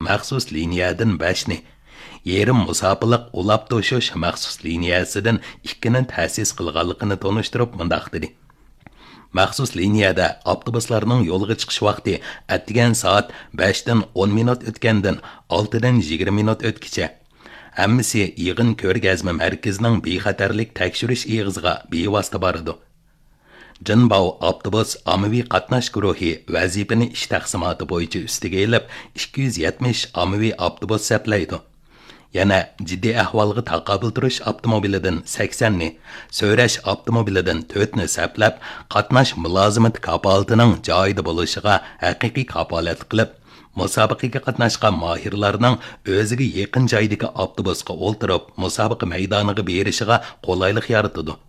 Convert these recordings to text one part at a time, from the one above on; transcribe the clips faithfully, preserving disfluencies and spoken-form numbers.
مەخسۇس لىنىيەدىن بەشنى، يېرىم مۇساپىلىق ئۇلاپ توشۇش مەخسۇس لىنىيەسىدىن ئىككىنى تەسىس قىلغانلىقىنى تونۇشتۇرۇپ مۇنداق دېدى: مەخسۇس لىنىيەدە ئاپتوبۇسلارنىڭ يولغا چىقىش ۋاقتى ئەتىگەن سائەت بەشتىن ئون مىنۇت ئۆتكەندىن ئالتىدىن يىگىرمە مىنۇت ئۆتكىچە. ھەممىسى يىغىن كۆرگەزمە مەركىزىنىڭ بىخەتەرلىك تەكشۈرۈش ئېغىزىغا بىۋاسىتە بارىدۇ. جىنباۋ ئاپتوبۇس ئاممىۋى قاتناش گۇرۇھى ۋەزىپىنى ئىش تەقسىماتى بويىچە ئۈستىگە ئېلىپ، ئىككى يۈز يەتمىش ئاممىۋى ئاپتوبۇس سەپلەيدۇ. يەنە جىددىي ئەھۋالغا تاقابىل تۇرۇش ئاپتوموبىلىدىن سەكسەننى، سۆرەش ئاپتوموبىلىدىن تۆتنى سەپلەپ، قاتناش مۇلازىمىتى كاپالىتىنىڭ جايىدا بولۇشىغا ھەقىقىي كاپالەتلىك قىلىپ، مۇسابىقىگە قاتناشقان ماھىرلارنىڭ ئۆزىگە يېقىن جايدىكى ئاپتوبۇسقا ئولتۇرۇپ، مۇسابىقە مەيدانىغا بېرىشىغا قولايلىق يارىتىدۇ.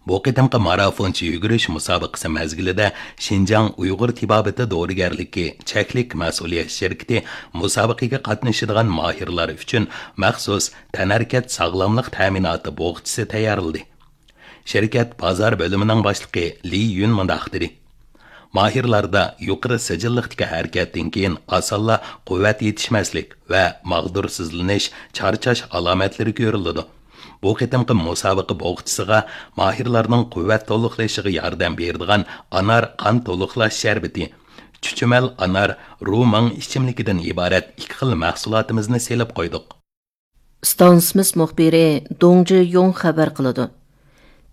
بۇ قېتىمقى مارافونچە يۈگۈرۈش مۇسابىقىسى مەزگىلىدە شىنجاڭ ئۇيغۇر تېبابىتى دورىگەرلىكى چەكلىك مەسئۇلىيەت شىركىتى مۇسابىقىگە قاتنىشىدىغان ماھىرلار ئۈچۈن مەخسۇس تەنھەرىكەت ساغلاملىق تەمىناتى بوغچىسى تەييارلىدى. شىركەت بازار بۆلۈمىنىڭ باشلىقى لى يۈن مۇنداق دېدى: ماھىرلاردا يۇقىرى سىجىللىقتىكى ھەرىكەتتىن كېيىن ئاسانلا قۇۋۋەت يېتىشمەسلىك ۋە ماغدۇرسىزلىنىش، چارچاش ئالامەتلىرى كۆرۈلىدۇ. بۇ قېتىمقى مۇسابىقە بوغچىسىغا ماھىرلارنىڭ قۇۋۋەت تولۇقلىشىغا ياردەم بېرىدىغان ئانار قان تولۇقلاش شەربىتى، چۈچۈمەل ئانار، روماڭ ئىچىملىكىدىن ئىبارەت ئىككى خىل مەھسۇلاتىمىزنى سېلىپ قويدۇق. ئىستانسىمىز مۇخبىرى دۇڭ جىيۇڭ خەۋەر قىلىدۇ.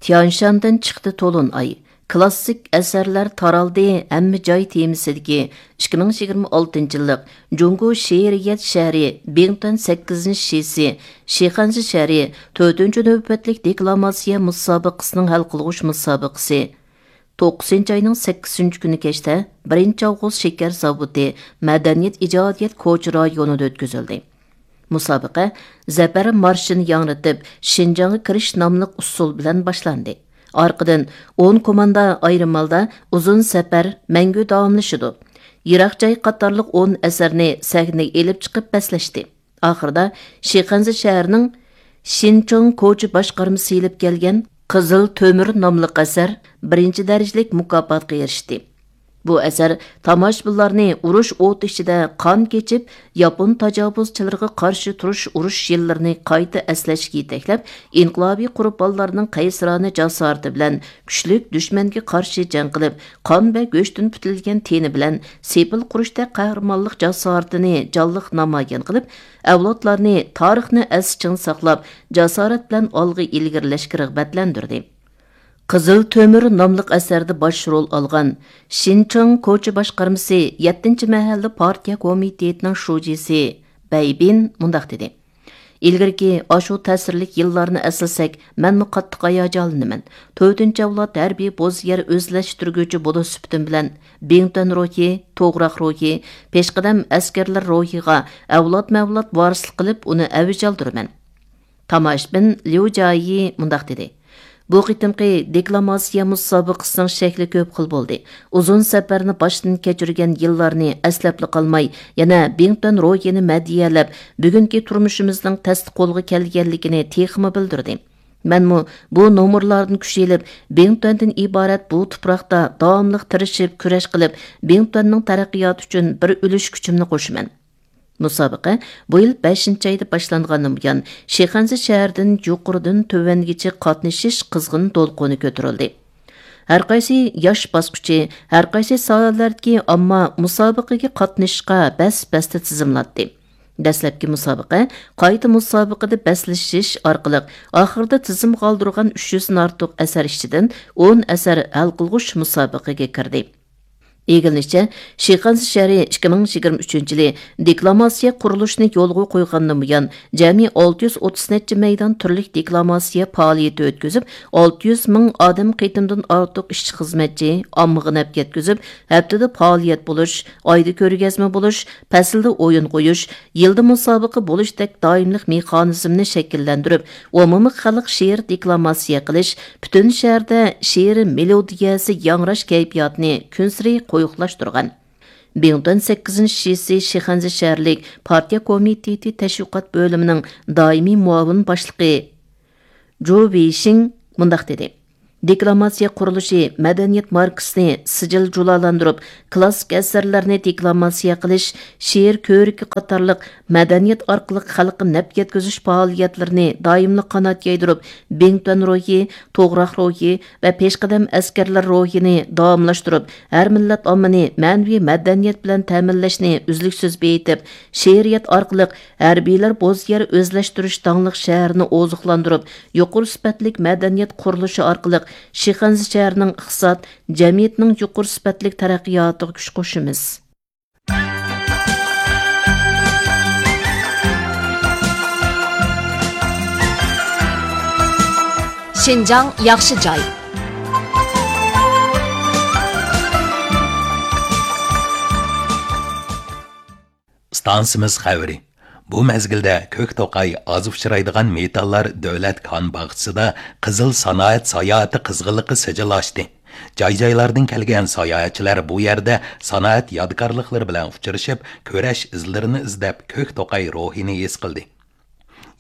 تيانشاندىن چىقتى تولۇن ئاي. كلاسسىك ئەسەرلەر تارالدى ھەممە جاي تېمىسىدىكى ئىككى مىڭ يىگىرمە ئالتىنچى يىللىق جۇڭگو شېئىرىيەت شەھىرى بىڭتۈەن سەككىزىنچى شىسى شىخەنزە شەھىرى تۆتىنچى نۆۋەتلىك دېكلاماتسىيە مۇسابىقىسىنىڭ ھەل قىلغۇچ مۇسابىقىسى توققۇزىنچى ئاينىڭ سەككىزىنچى كۈنى كەچتە بىرىنچى ئاۋغۇست شېكەر زاۋۇتى مەدەنىيەت ئىجادىيەت كوچا رايونىدا ئۆتكۈزۈلدى. مۇسابىقە زەپەر مارشىنى ياڭرىتىپ، شىنجاڭغا كىرىش ناملىق ئۇسسۇل بىلەن باشلاندى. ئارقىدىن ئون كوماندا ئايرىم ھالدا ئۇزۇن سەپەر مەڭگۈ داۋاملىشىدۇ، يىراق جاي قاتارلىق ئون ئەسەرنى سەھنىگە ئېلىپ چىقىپ بەسلەشتى. ئاخىرىدا شىخەنزە شەھىرىنىڭ شىنچوڭ كوچا باشقارمىسى ئېلىپ كەلگەن قىزىل تۆمۈر ناملىق ئەسەر بىرىنچى دەرىجىلىك مۇكاپاتقا ئېرىشتى. بۇ ئەسەر تاماشىبىنلارنى ئۇرۇش ئوتى ئىچىدە قان كېچىپ، ياپون تاجاۋۇزچىلىرىغا قارشى تۇرۇش ئۇرۇش يىللىرىنى قايتا ئەسلەشكە يېتەكلەپ، ئىنقىلابىي قۇربانلارنىڭ قەيسىرانە جاسارىتى بىلەن كۈچلۈك دۈشمەنگە قارشى جەڭ قىلىپ، قان ۋە گۆشتىن پۈتۈلگەن تېنى بىلەن سېپىل قۇرۇشتەك قەھرىمانلىق جاسارىتىنى جانلىق نامايان قىلىپ، ئەۋلادلارنى تارىخنى ئەستە چىڭ ساقلاپ، جاسارەت بىلەن ئالغا ئىلگىرىلەشكە رىغبەتلەندۈردى. قىزىل تۆمۈر ناملىق ئەسەردە باش رول ئالغان شىنچاڭ كوچا باشقارمىسى يەتتىنچى مەھەللە پارتىيە كومىتېتىنىڭ شۇجىسى بەيبىن مۇنداق دېدى: ئىلگىرىكى ئاشۇ تەسىرلىك يىللارنى ئەسلىسەك، مەنمۇ قاتتىق ھاياجانلىنىمەن. تۆتىنچى ئەۋلاد ھەربىي بوز يەر ئۆزلەشتۈرگۈچى بولۇش سۈپىتىم بىلەن، بىڭتۈەن روھى، توغراق روھى، پېشقەدەم ئەسكەرلەر روھىغا ئەۋلادمۇ ئەۋلاد ۋارىسلىق قىلىپ، ئۇنى ئەۋج ئالدۇرىمەن. تاماشىبىن ليۇ جايى مۇنداق دېدى: بۇ قېتىمقى دېكلاماتسىيە مۇسابىقىسىنىڭ شەكلى كۆپ خىل بولدى. ئۇزۇن سەپەرنى باشتىن كەچۈرگەن يىللارنى ئەسلەپلا قالماي، يەنە بىڭتۈەن روھىنى مەدھىيەلەپ، بۈگۈنكى تۇرمۇشىمىزنىڭ تەستە قولغا كەلگەنلىكىنى تېخىمۇ بىلدۈردى. مەنمۇ بۇ نومۇرلاردىن كۈچ ئېلىپ، بىڭتۈەندىن ئىبارەت بۇ تۇپراقتا داۋاملىق تىرىشىپ كۈرەش قىلىپ، بىڭتۈەننىڭ تەرەققىياتى ئۈچۈن بىر ئۈلۈش كۈچۈمنى قوشىمەن. مۇسابىقە بۇ يىل بەشىنچى ئايدا باشلانغاندىن بۇيان، شىخەنزە شەھىرىدىن يۇقىرىدىن تۆۋەنگىچە قاتنىشىش قىزغىن دولقۇنى كۆتۈرۈلدى. ھەرقايسى ياش باسقۇچى، ھەرقايسى ساھەلەردىكى ئامما مۇسابىقىگە قاتنىشىشقا بەس-بەستە تىزىملاتتى. دەسلەپكى مۇسابىقە قايتا مۇسابىقىدە بەسلىشىش ئارقىلىق، ئاخىرىدا تىزىمغا ئالدۇرغان ئۈچ يۈزدىن ئارتۇق ئەسەر ئىچىدىن ئون ئەسەر ھەل قىلغۇچ مۇسابىقىگە كىردى. ئىگىلىنىشىچە، شىخەنزە شەھىرى ئىككى مىڭ يىگىرمە ئۈچىنچى يىلى دېكلاماتسىيە قۇرۇلۇشىنى يولغا قويغاندىن بۇيان، جەمئىي ئالتە يۈز ئوتتۇز نەچچە مەيدان تۈرلۈك دېكلاماتسىيە پائالىيىتى ئۆتكۈزۈپ، ئالتە يۈز مىڭ ئادەم قېتىمدىن ئارتۇق ئىشچى-خىزمەتچى ئاممىغا نەپ يەتكۈزۈپ، ھەپتىدە پائالىيەت بولۇش، ئايدا كۆرگەزمە بولۇش، پەسىلدە ئويۇن قويۇش، يىلدا مۇسابىقە بولۇشتەك دائىملىق مېخانىزمنى شەكىللەندۈرۈپ، ئومۇمىي خەلق شېئىر دېكلاماتسىيە قىلىش، پۈتۈن شەھەردە شېئىر مېلودىيەسى ياڭراش كەيپىياتىنى كۈنسېرى قويۇقلاشتۇرغان. بىڭتۈەن سەككىزىنچى شىسى شىخەنزە شەھەرلىك پارتىيە كومىتېتى تەشۋىقات بۆلۈمىنىڭ دائىمىي مۇئاۋىن باشلىقى جۇ ۋېيشىڭ مۇنداق دېدى: دېكلاماتسىيە قۇرۇلۇشى مەدەنىيەت ماركىسىنى سىجىل جۇلالاندۇرۇپ، كىلاسسىك ئەسەرلەرنى دېكلاماتسىيە قىلىش، شېئىر كۆرىكى قاتارلىق مەدەنىيەت ئارقىلىق خەلققە نەپ يەتكۈزۈش پائالىيەتلىرىنى دائىملىق قانات يايدۇرۇپ، بىڭتۈەن روھى، توغراق روھى ۋە پېشقەدەم ئەسكەرلەر روھىنى داۋاملاشتۇرۇپ، ھەر مىللەت ئاممىنى مەنىۋى مەدەنىيەت بىلەن تەمىنلەشنى ئۈزلۈكسىز بېيىتىپ، شېئىرىيەت ئارقىلىق ھەربىيلەر بوز يەر ئۆزلەشتۈرۈش داڭلىق شەھىرىنى ئوزۇقلاندۇرۇپ، يۇقىرى سۈپەتلىك مەدەنىيەت قۇرۇلۇشى ئارقىلىق شىخەنزە شەھىرىنىڭ ئىقتىساد، جەمئىيەتنىڭ يۇقىرى سۈپەتلىك تەرەققىياتىغا كۈچ قوشىمىز. شىنجاڭ ياخشى جاي. ئىستانسىمىز خەۋىرى. بۇ مەزگىلدە كۆك توقاي ئاز ئۇچرايدىغان مېتاللار دۆلەت كان باغچىسىدا قىزىل سانائەت ساياھىتى قىزغىنلىقى سىجىل ئاچتى. جاي-جايلاردىن كەلگەن ساياھەتچىلەر بۇ يەردە سانائەت يادىكارلىقلىرى بىلەن ئۇچرىشىپ، كۈرەش ئىزلىرىنى ئىزدەپ، كۆك توقاي روھىنى ھېس قىلدى.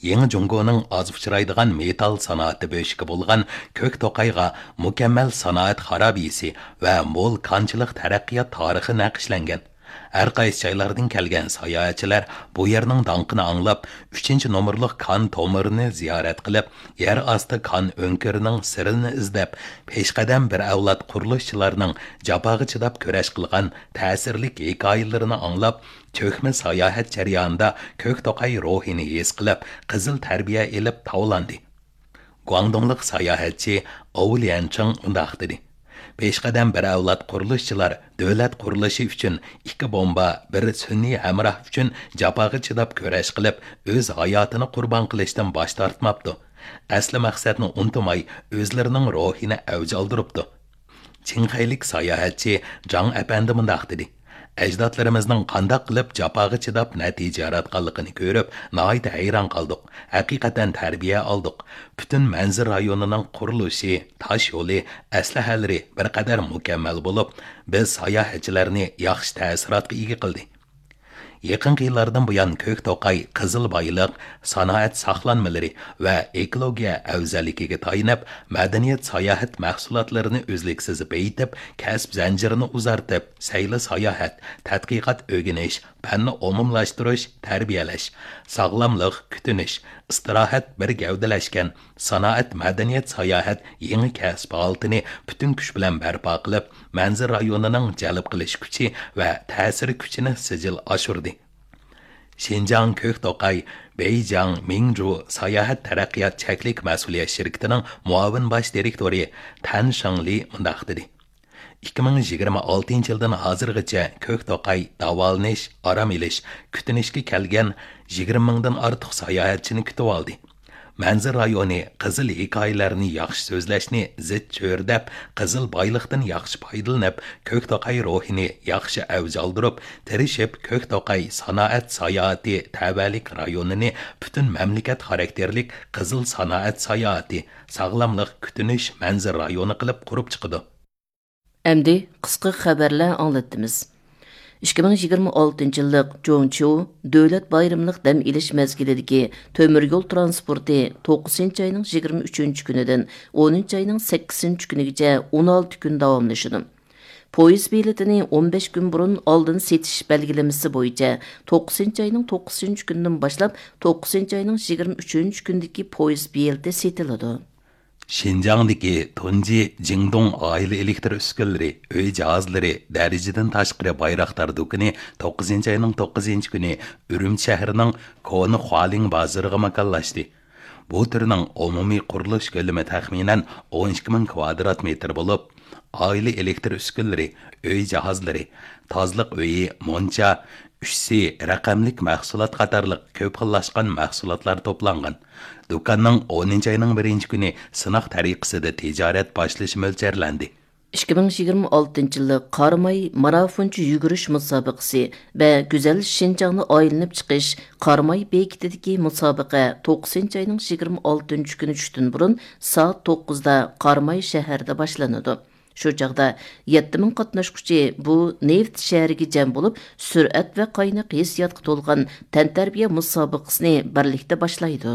يېڭى جۇڭگونىڭ ئاز ئۇچرايدىغان مېتال سانائىتى بۆشۈكى بولغان كۆك توقايغا مۇكەممەل سانائەت خارابىسى ۋە مول كانچىلىق تەرەققىيات تارىخى نەقىشلەنگەن. ھەر قايسى جايلاردىن كەلگەن ساياھەتچىلەر بۇ يەرنىڭ داڭقىنى ئاڭلاپ، ئۈچىنچى نومۇرلۇق كان تومۇرىنى زىيارەت قىلىپ، يەر ئاستى كان ئۆڭكۈرىنىڭ سىرىنى ئىزدەپ، پېشقەدەم بىر ئەۋلاد قۇرۇلۇشچىلارنىڭ جاپاغا چىداپ كۈرەش قىلغان تەسىرلىك ھېكايىلىرىنى ئاڭلاپ، چۆكمە ساياھەت جەريانىدا كۆك توقاي روھىنى ھېس قىلىپ، قىزىل تەربىيە ئېلىپ تاۋلاندى. گۇاڭدۇڭلۇق ساياھەتچى ئاۋۇ ليەنچىڭ مۇنداق دېدى: پېشقەدەم بىر ئەۋلاد قۇرۇلۇشچىلار دۆلەت قۇرۇلۇشى ئۈچۈن ئىككى بومبا، بىر سۈنئىي ھەمراھ ئۈچۈن جاپاغا چىداپ كۈرەش قىلىپ، ئۆز ھاياتىنى قۇربان قىلىشتىن باش تارتماپتۇ. ئەسلى مەقسەتنى ئۇنتۇماي، ئۆزلىرىنىڭ روھىنى ئەۋج ئالدۇرۇپتۇ. چىڭخەيلىك ساياھەتچى جاڭ ئەپەندى مۇنداق دېدى: ئەجدادلىرىمىزنىڭ قانداق قىلىپ جاپاغا چىداپ نەتىجە ياراتقانلىقىنى كۆرۈپ، ناھايىتى ھەيران قالدۇق. ھەقىقەتەن تەربىيە ئالدۇق. پۈتۈن مەنزىرە رايونىنىڭ قۇرۇلۇشى، تاش يولى، ئەسلىھەلىرى بىر قەدەر مۇكەممەل بولۇپ، بىز ساياھەتچىلەرنى ياخشى تەسىراتقا ئىگە قىلدى. يېقىنقى يىللاردىن بۇيان، كۆك توقاي قىزىل بايلىق، سانائەت ساقلانمىلىرى ۋە ئېكولوگىيە ئەۋزەللىكىگە تايىنىپ، مەدەنىيەت ساياھەت مەھسۇلاتلىرىنى ئۈزلۈكسىز بېيىتىپ، كەسىپ زەنجىرىنى ئۇزارتىپ، سەيلە ساياھەت، تەتقىقات ئۆگىنىش، پەننى ئومۇملاشتۇرۇش، تەربىيەلەش، ساغلاملىق، كۈتۈنۈش، ئىستىراھەت بىر گەۋدىلەشكەن، سانائەت، مەدەنىيەت، ساياھەت يېڭى كەسىپ ھالىتىنى پۈتۈن كۈچ بىلەن بەرپا قىلىپ، مەنزىرە رايونىنىڭ جەلپ قىلىش كۈچى ۋە تەسىر كۈچىنى سىجىل ئاشۇردى. شىنجاڭ كۆك توقاي بېيجاڭ مىڭجۇ ساياھەت تەرەققىيات چەكلىك مەسئۇلىيەت شىركىتىنىڭ مۇئاۋىن باش دىرېكتورى تەن شېڭلى مۇنداق دېدى: ئىككى مىڭ يىگىرمە ئالتىنچى يىلدىن ھازىرغىچە كۆك توقاي داۋالىنىش، ئارام ئېلىش، كۈتۈنۈشكە كەلگەن يىگىرمە مىڭدىن ئارتۇق ساياھەتچىنى كۈتۈۋالدى. مەنزىرە رايونى قىزىل ھېكايىلەرنى ياخشى سۆزلەشنى زىچ چۆرىدەپ، قىزىل بايلىقتىن ياخشى پايدىلىنىپ، كۆك توقاي روھىنى ياخشى ئەۋج ئالدۇرۇپ، تىرىشىپ كۆك توقاي سانائەت ساياھىتى تەۋەلىك رايونىنى پۈتۈن مەملىكەت خاراكتېرلىك قىزىل سانائەت ساياھىتى، ساغلاملىق، كۈتۈنۈش مەنزىرە رايونى قىلىپ قۇرۇپ چىقىدۇ. ئەمدى قىسقا خەۋەرلەر ئاڭلاتتىمىز. ئىككى مىڭ يىگىرمە ئالتىنچى يىللىق جوڭچيۇ دۆلەت بايرىملىق دەم ئېلىش مەزگىلىدىكى تۆمۈر يول ترانسپورتى توققۇزىنچى ئاينىڭ يىگىرمە ئۈچىنچى كۈنىدىن ئونىنچى ئاينىڭ سەككىزىنچى كۈنىگىچە ئون ئالتە كۈن داۋاملىشىدۇ. پويىز بېلىتىنى ئون بەش كۈن بۇرۇن ئالدىن سېتىش بەلگىلىمىسى بويىچە توققۇزىنچى ئاينىڭ توققۇزىنچى كۈنىدىن باشلاپ توققۇزىنچى ئاينىڭ يىگىرمە ئۈچىنچى كۈنىدىكى پويىز بېلىتى سېتىلىدۇ. شىنجاڭدىكى تۇنجى جىڭدۇڭ ئائىلە ئېلېكتر ئۈسكۈنىلىرى، ئۆي جاھازلىرى، دەرىجىدىن تاشقىرى بايراقدار دۇكىنى توققۇزىنچى ئاينىڭ توققۇزىنچى كۈنى ئۈرۈمچى شەھىرىنىڭ كونا خۇالىڭ بازىرىغا ماكانلاشتى. بۇ تۈرنىڭ ئومۇمىي قۇرۇلۇش كۆلىمى تەخمىنەن ئون ئىككى مىڭ كۋادرات مېتىر بولۇپ، ئائىلە ئېلېكتر ئۈسكۈنىلىرى، ئۆي جاھازلىرى، تازىلىق ئۆيى، مونچا، ئۈچ سى رەقەملىك مەھسۇلات قاتارلىق كۆپ خىللاشقان مەھسۇلاتلار توپلانغان. دۇكاننىڭ ئونىنچى ئاينىڭ بىرىنچى كۈنى سىناق تەرىقىسىدە تىجارەت باشلىشى مۆلچەرلەندى. ئىككى مىڭ يىگىرمە ئالتىنچى يىللىق قاراماي مارافونچە يۈگۈرۈش مۇسابىقىسى ۋە گۈزەل شىنجاڭنى ئايلىنىپ چىقىش قاراماي بېكىتىدىكى مۇسابىقە توققۇزىنچى ئاينىڭ يىگىرمە ئالتىنچى كۈنى چۈشتىن بۇرۇن سائەت توققۇزدا قاراماي شەھىرىدە باشلىنىدۇ. شۇ چاغدا يەتتە مىڭ قاتناشقۇچى بۇ نېفىت شەھىرىگە جەم بولۇپ، سۈرئەت ۋە قايناق ھېسسىياتقا تولغان تەنتەربىيە مۇسابىقىسىنى بىرلىكتە باشلايدۇ.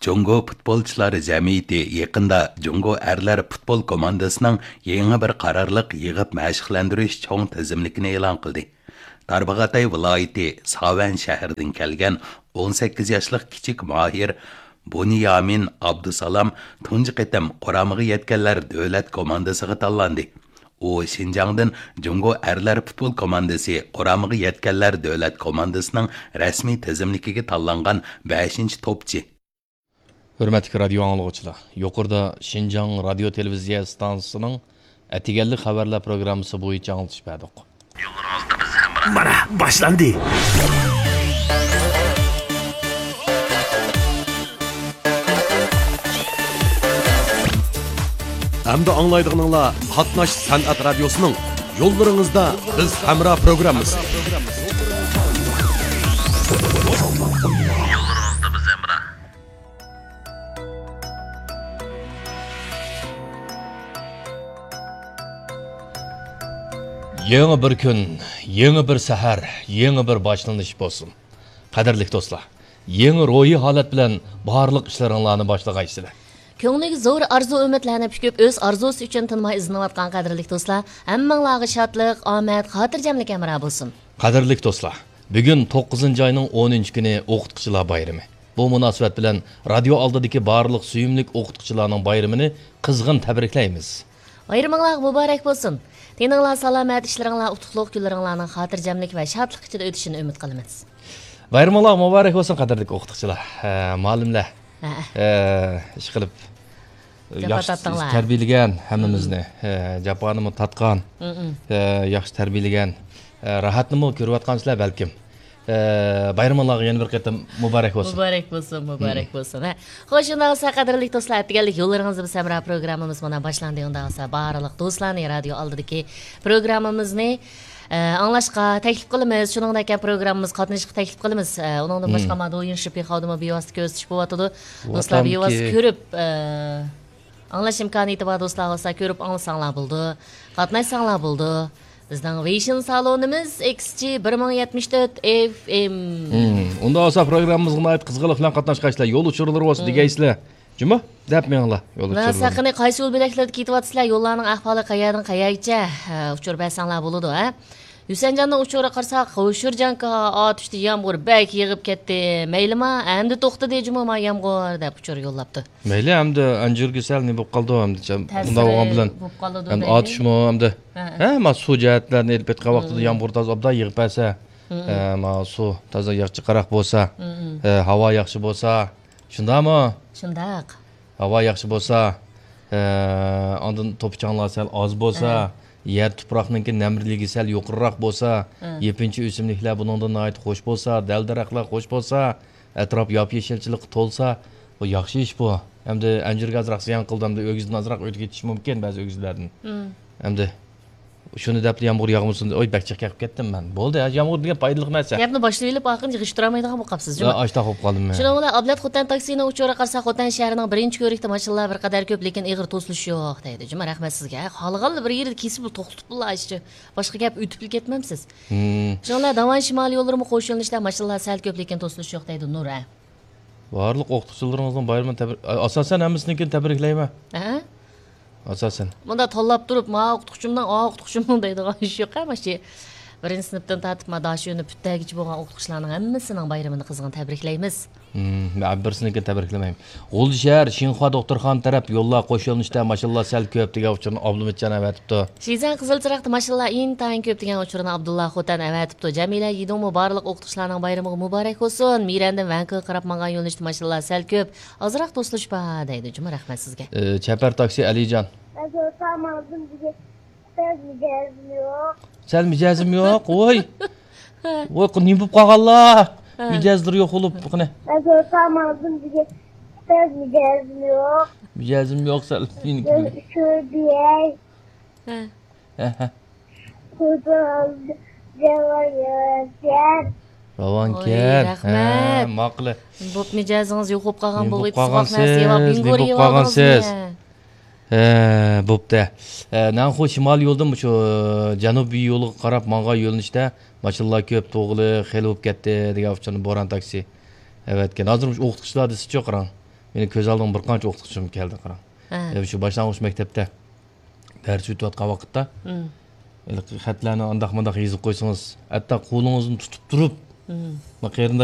جۇڭگو پۇتبولچىلار جەمئىيىتى يېقىندا جۇڭگو ئەرلەر پۇتبول كوماندىسىنىڭ يېڭى بىر قارارلىق يىغىپ مەشىقلەندۈرۈش چوڭ تىزىملىكىنى ئېلان قىلدى. تارباغاتاي ۋىلايىتى ساۋەن شەھىرىدىن كەلگەن ئون سەككىز ياشلىق كىچىك ماھىر بۇنيامىن ئابدۇسالام تۇنجى قېتىم قۇرامىغا يەتكەنلەر دۆلەت كوماندىسىغا تاللاندى. ئۇ شىنجاڭدىن جۇڭگو ئەرلەر پۇتبول كوماندىسى قۇرامىغا يەتكەنلەر دۆلەت كوماندىسىنىڭ رەسمىي تىزىملىكىگە تاللانغان بەشىنچى توپچى. ھۆرمەتلىك رادىيو ئاڭلىغۇچىلار، يۇقىرىدا شىنجاڭ رادىيو تېلېۋىزىيە ئىستانسىسىنىڭ ئەتىگەنلىك خەۋەرلەر پروگراممىسى بويىچە ئاڭلىتىش بەردۇق. مانا، باشلاندى. ئەمدى ئاڭلايدىغىنىڭلار قاتناش سەنئەت رادىيوسىنىڭ يوللىرىڭىزدا بىز ھەمراھ پروگراممىسى. يېڭى بىر كۈن، يېڭى بىر سەھەر، يېڭى بىر باشلىنىش بولسۇن. قەدىرلىك دوستلار، يېڭى روھىي ھالەت بىلەن بارلىق ئىشلىرىڭلارنى باشلىغايسىلەر. كۆڭلىگە زور ئارزۇ-ئۈمىدلەرنى پۈكۈپ، ئۆز ئارزۇسى ئۈچۈن تىنماي ئىزدىنىۋاتقان قەدىرلىك دوستلار، ھەممىڭلارغا شادلىق، ئامەت، خاتىرجەملىك ھەمراھ بولسۇن. قەدىرلىك دوستلار، بۈگۈن توققۇزىنچى ئاينىڭ ئونىنچى كۈنى ئوقۇتقۇچىلار بايرىمى. بۇ مۇناسىۋەت بىلەن رادىيو ئالدىدىكى بارلىق سۆيۈملۈك ئوقۇتقۇچىلارنىڭ بايرىمىنى قىزغىن تەبرىكلەيمىز. بايرىمىڭلارغا مۇبارەك بولسۇن! تېنىڭلار سالامەت، ئىشلىرىڭلار ئۇتۇقلۇق، كۈنلىرىڭلارنىڭ خاتىرجەملىك ۋە شادلىق ئىچىدە ئۆتۈشىنى ئۈمىد قىلىمىز. بايرىمىڭلار مۇبارەك بولسۇن، قەدىرلىك ئوقۇتقۇچىلار، ھە، مۇئەللىملەر. ھە. ھە، ئىشقىلىپ، جاپا ياخشى تارتتىڭلار. تەربىيەلىگەن ھەممىمىزنى، ھە، جاپانىمۇ تارتقان، ھە، ياخشى تەربىيەلىگەن، ھە، راھەتنىمۇ كۆرۈۋاتقانسىلەر بەلكىم. ھە، بايرىمىڭلارغا يەنە بىر قېتىم مۇبارەك بولسۇن. مۇبارەك بولسۇن، مۇبارەك بولسۇن. ھە. خوش، ئۇنداق بولسا، قەدىرلىك دوستلار، ئەتىگەنلىك يوللىرىڭىزدا بىز ھەمراھ پروگراممىمىز مانا باشلاندى. ئۇنداق بولسا، بارلىق دوستلارنى رادىيو ئالدىدىكى پروگراممىمىزنى ئە، ئاڭلاشقا تەكلىپ قىلىمىز. شۇنىڭدەك پروگراممىمىزغا قاتنىشىشقا تەكلىپ قىلىمىز. ئە، ئۇنىڭدىن باشقا، ما دويىن شىپىخاۋدىمۇ بىۋاسىتە كۆرسىتىش بولۇۋاتىدۇ. دوستلار بىۋاسىتە كۆرۈپ، ئە، ئاڭلاش ئىمكانىيىتى بار دوستلار بولسا كۆرۈپ ئاڭلىساڭلار بولىدۇ. قاتناشساڭلار بولىدۇ. بىزنىڭ ۋېيشىن سالونىمىز ئېكس جى بىر مىڭ يەتمىش تۆت ئېف ئېم. ئۇنداق بولسا پروگراممىمىزغا ناھايىتى قىزغىنلىق بىلەن قاتناشقايسىلەر. يول ئۇچۇرلىرى بولسا دېگەيسىلەر. جۇمۇ، دەپ مېڭىڭلار، يول ئۇچۇرلىرىنى. قايسى يول بۆلەكلىرىدە كېتىۋاتىسىلەر؟ يوللارنىڭ ئەھۋالى قەيەردىن قەيەرگىچە؟ ھە، ئۇچۇر بەرسەڭلار بولىدۇ، ھە؟ ھۈسەنجاننىڭ ئۇچۇرىغا قارىساق، ھوشۇرجانكا ئاتۇشتا يامغۇر بەك يېغىپ كەتتى. مەيلىما، ئەمدى توختىدى جۇمۇ ما يامغۇر، دەپ ئۇچۇر يوللاپتۇ. مەيلى، ئەمدى ئەنجۈرگە سەل نېمە بولۇپ قالىدۇ، ئەمدى شۇنداق بولغان بىلەن، ئەمدى ئاتۇشمۇ، ئەمدى، ھە، ما سۇ جەھەتلەرنى ئېلىپ ئېيتقان ۋاقتىدا يامغۇر تازا ئوبدان يېغىپ بەرسە، ھە، ما سۇ تازا ياخشى قاراق بولسا، ھە، ھاۋا ياخشى بولسا، شۇنداقمۇ؟ شۇنداق. ھاۋا ياخشى بولسا، ئە، ئاندىن توپا-چاڭلار سەل ئاز بولسا، يەر تۇپراقنىڭكى نەملىكى سەل يۇقىرىراق بولسا، يېپىنچا ئۆسۈملۈكلەر بۇنىڭدىن ناھايىتى خوش بولسا، دەل-دەرەخلەر خوش بولسا، ئەتراپ ياپيېشىلچىلىققا تولسا، بۇ ياخشى ئىش بۇ. ئەمدى ئەنجۈرگە ئازراق زىيان قىلدى، ئەمدى ئۆگزىدىن ئازراق ئۆتۈپ كېتىشى مۇمكىن بەزى ئۆگزىلەردىن. ئەمدى شۇنى دەپلا يامغۇر ياغمىسۇن، ئوي، بەك جىق گەپ قىلىپ كەتتىم مەن. بولدى، يامغۇر دېگەن پايدىلىق نەرسە. گەپنى باشلىۋېلىپ، ئاخىرىنى يىغىشتۇرالمايدىغان بولۇپ قاپسىز، جۇمۇ. ئاشتاق بولۇپ قالدىم مەن. شۇنىڭ بىلەن ئابلەت خوتەن تاكسىنىڭ ئۇچۇرىغا قارىساق، خوتەن شەھىرىنىڭ بىرىنچى كۆۋرۈكىدە ماشىنىلار بىر قەدەر كۆپ، لېكىن ئېغىر توسۇلۇش يوق، دەيدۇ. جۇمۇ، رەھمەت سىزگە. خالىغانلا بىر يېرىدە كېسىپلا توختىتىپلا ئاشۇ. باشقا گەپ ئۆتۈپلا كەتمەمسىز. شۇنىڭ بىلەن داۋان شىمالىي يوللىرىمۇ قوش يۆنىلىشتە ماشىنىلار سەل كۆپ، لېكىن توسۇلۇش يوق، دەيدۇ نۇر. بارلىق ئوقۇتقۇچىلىرىڭىزنىڭ بايرىمىنى تەبرىك-، ئاساسەن ھەممىسىنىڭكىنى تەبرىكلەيمەن. ھە؟ ئاساسەن. مۇنداق تاللاپ تۇرۇپ، ما ئوقۇتقۇچىمنىڭ، ئا ئوقۇتقۇچىمنىڭ دەيدىغان ئىش يوق، ھە، ماشۇ بىرىنچى سىنىپتىن تارتىپ ما داشۆنى پۈتتەرگىچە بولغان ئوقۇتقۇچىلارنىڭ ھەممىسىنىڭ بايرىمىنى قىزغىن تەبرىكلەيمىز. ھىم، مەن بىرسىنىڭكىنى تەبرىكلىمەيمەن. غۇلجا شەھەر شىنخۇا دوختۇرخانا تەرەپ يوللار قوش يۆنىلىشتە ماشىنىلار سەل كۆپ دېگەن ئۇچۇرنى ئابلىمىتجان ئەۋەتىپتۇ. شىزەن قىزىل چىراغدا ماشىنىلار ئىنتايىن كۆپ دېگەن ئۇچۇرنى ئابدۇللا خوتەن ئەۋەتىپتۇ. جەمىلە يىدۇڭمۇ بارلىق ئوقۇتقۇچىلارنىڭ بايرىمىغا مۇبارەك بولسۇن. مىرەندىن ۋەنكۇغا قاراپ ماڭغان يۆنىلىشتە ماشىنىلار سەل كۆپ. ئازراق توسۇلۇش بار دەيدۇ جۇمۇ، رەھمەت سىزگە. ئى، چەپەر تاكسى ئەلىجان. ئەزەل تامازدىن بۈگۈن سەل مىجەزىم يوق. سەل مىجەزىم يوق، ۋوي. ۋوي، نېمە بولۇپ قالغانلار؟ ھە. مىجەزلىرى يوق بولۇپ، قېنى. ئەزەل تامازدىن بۈگۈن سەل مىجەزىم يوق. مىجەزىم يوق، سەل. شۆبىيەي. ھە. ھە، ھە. راۋانكەن. ۋوي، رەھمەت. ھە، ماقۇل. بوپ مىجەزىڭىز يوق بولۇپ قالغان بولغىيدى، سوغۇق نەرسە يەۋاپ، نېمە بولۇپ قالغانسىز؟ ھە، بوپتە. ھە، نەنخۇ شىمالىي يولدىن شۇ جەنۇبىي يولغا قاراپ ماڭغان يۆنىلىشتە ماشىنىلار كۆپ، توغىلى خېلى بولۇپ كەتتى دېگەن ئۇچۇرنى بوران تاكسى ئەۋەتكەن. ھازىر مۇشۇ ئوقۇتقۇچىلار دېسىچۇ، قاراڭ. مېنىڭ كۆز ئالدىمغا بىر قانچە ئوقۇتقۇچىم كەلدى، قاراڭ. ھە. شۇ باشلانغۇچ مەكتەپتە دەرس ئۆتۈۋاتقان ۋاقىتتا، ھېلىقى خەتلەرنى ئانداق مۇنداق يېزىپ قويسىڭىز، ھەتتا قولىڭىزنى تۇتۇپ تۇرۇپ، مم. قېرىنداش